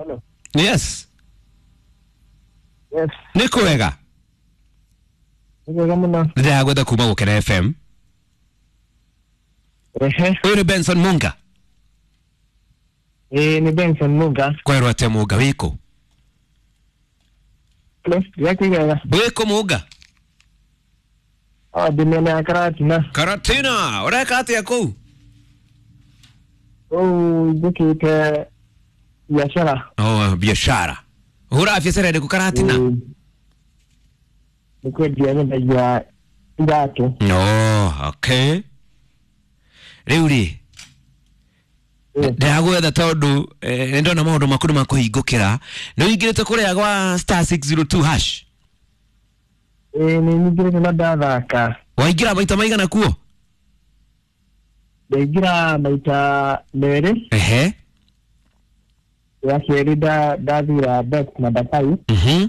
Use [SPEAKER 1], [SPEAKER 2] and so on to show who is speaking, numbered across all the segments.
[SPEAKER 1] Hello.
[SPEAKER 2] Yes.
[SPEAKER 1] Yes.
[SPEAKER 2] Nĩ kwega?
[SPEAKER 1] Nĩ wega mũno.
[SPEAKER 2] Ndĩragwetha kuma Gũkena FM.
[SPEAKER 1] Ehe.
[SPEAKER 2] Ũyũ nĩ Benson Munga.
[SPEAKER 1] Ĩĩ, nĩ Benson Munga.
[SPEAKER 2] Kwerwo atĩa Munga, wĩkũ?
[SPEAKER 1] Hello. Ndĩrakwĩra.
[SPEAKER 2] Wĩkũ Munga?
[SPEAKER 1] Oh, ndĩ mĩena ya Karatina.
[SPEAKER 2] Karatina, ũreka atĩa kũu?
[SPEAKER 1] Kũu njĩkĩte biacara.
[SPEAKER 2] Oh, biashara. Ũhũraga biacara ĩrĩkũ Karatina?
[SPEAKER 1] Ĩĩ. Nĩ kwendia nyendagia iratũ.
[SPEAKER 2] Oh, okay. Rĩu rĩ,
[SPEAKER 1] Ĩĩ.
[SPEAKER 2] ndĩragwetha tondũ nĩ ndona maũndũ maku nĩ makũhingũkĩra. Nĩ ũingĩrĩte kũrĩa gwa *602#?
[SPEAKER 1] Ĩĩ, nĩ nyingĩrĩte na ndathaka.
[SPEAKER 2] Waingĩra maita maigana kuo?
[SPEAKER 1] Ndaingĩra maita merĩ.
[SPEAKER 2] Ehe.
[SPEAKER 1] Ya kerĩ ndathira bet namba 5.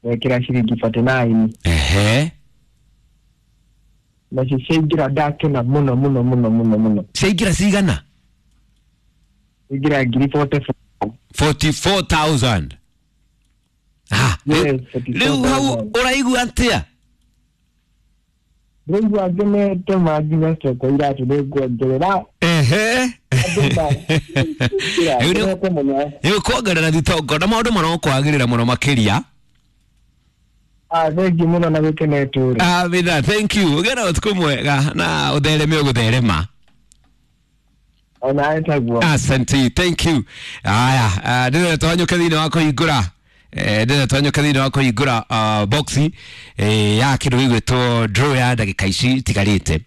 [SPEAKER 1] Ndekĩra ciringi 49.
[SPEAKER 2] Ehe.
[SPEAKER 1] Nacio ciaingĩra ndakena mũno mũno mũno mũno mũno.
[SPEAKER 2] Ciaingĩra cigana?
[SPEAKER 1] Ingĩra ngiri 44.
[SPEAKER 2] 44,000. Ah,
[SPEAKER 1] Yes,
[SPEAKER 2] rĩu hau
[SPEAKER 1] 44,000.
[SPEAKER 2] ũraigua atĩa?
[SPEAKER 1] Ndĩraigua ngenete ma nginya coko iratũ nĩ nguongerera.
[SPEAKER 2] Ehe. Rĩu
[SPEAKER 1] Ngenete mũno.
[SPEAKER 2] nĩ ũkuongerera thitongo na maũndũ marokwagĩrĩra mũno makĩria.
[SPEAKER 1] Ah, thengiũ mũno na gĩkeno tũrĩ.
[SPEAKER 2] Amina, thank you. Ũgĩe na ũtukũ mwega na ũthereme ũgũtherema.
[SPEAKER 1] Ona taguo.
[SPEAKER 2] Asante, thank you. Aya, ndĩrenda twanyũke thĩinĩ wa kũhingũra, ndĩrenda twanyũke thĩinĩ wa kũhingũra boxi ya kĩndũ gĩgwĩtwo draw ya ndagĩka ici itigarĩte.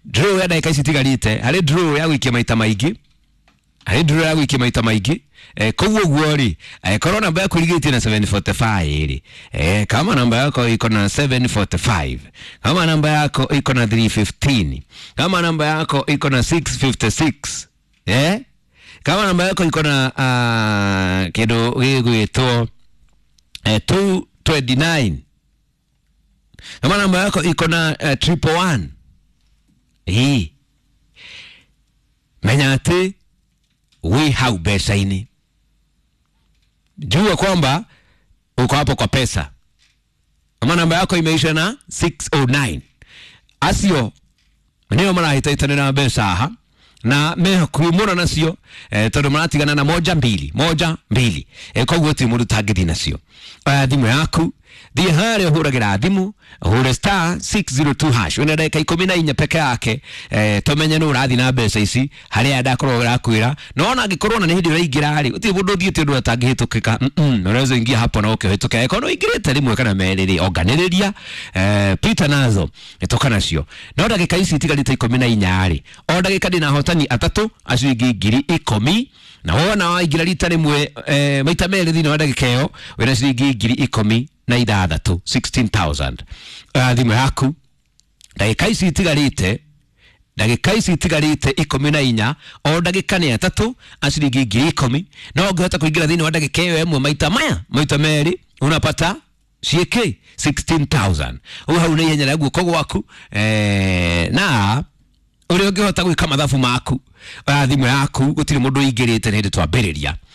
[SPEAKER 2] Draw ya ndagĩka ici itigarĩte, harĩ draw ya gũikia maita maingĩ, harĩ draw ya gũikia maita maingĩ. Koguo ũguo rĩ, korwo namba yaku ĩrigĩtie na 745 rĩ, kama namba yako iko na 745, kama namba yako iko na 315, kama namba yako iko na 656, kama namba yako iko na kĩndũ gĩgwĩtwo 229, kama namba yako iko na 111, ĩ menya atĩ wĩ hau mbeca-inĩ. Jua kwamba uko hapo kwa pesa. Kama namba yako imeisha na 609, acio nĩo marahĩtahĩtanĩra mbeca haha na me hakuhĩ mũno nacio, tondũ maratigana na moja mbili moja mbili, koguo gũtirĩ mũndũ ũtangĩthiĩ nacio. Thimũ yaku thiĩ harĩa ũhũragĩra thimũ, ũhũre *602# wĩna ndagĩka 14 peke yake, tũmenye nũ ũrathiĩ na mbeca ici harĩa ndakorwo ũrakwĩra. No ona angĩkorwo ona nĩ hĩndĩ ũraingĩra rĩ, gũtirĩ mũndũ ũthiĩte ũndũ atangĩhĩtũkĩka. Unaweza ingia hapo na ũkĩhĩtũka. Angĩkorwo nĩ ũingĩrĩte rĩmwe kana merĩ rĩ, onganĩrĩria, pita nazo toka nacio. No ndagĩka ici itigarĩte 14 rĩ, o ndagĩka ndĩna ahotani atatũ a ciringi 10,000, na wona waingĩra rita rĩmwe, maita merĩ thĩinĩ wa ndagĩka ĩyo, wĩna ciringi 16,000, 16,000. Thimũ yaku ndagĩka ici itigarĩte, ndagĩka ici itigarĩte 14, o ndagĩka nĩ atatũ a ciringi 10,000. No ũngĩhota kũingĩra thĩinĩ wa ndagĩka ĩyo ĩmwe maita maya maita merĩ, unapata ciĩkĩ 16,000. Ũguo hau nĩ ihenya rĩa guoko gwaku, na ũrĩa ũngĩhota gwĩka mathabu maku. Oya thimũ yaku, gũtirĩ mũndũ ũingĩrĩte nĩ hĩndĩ twambĩrĩria.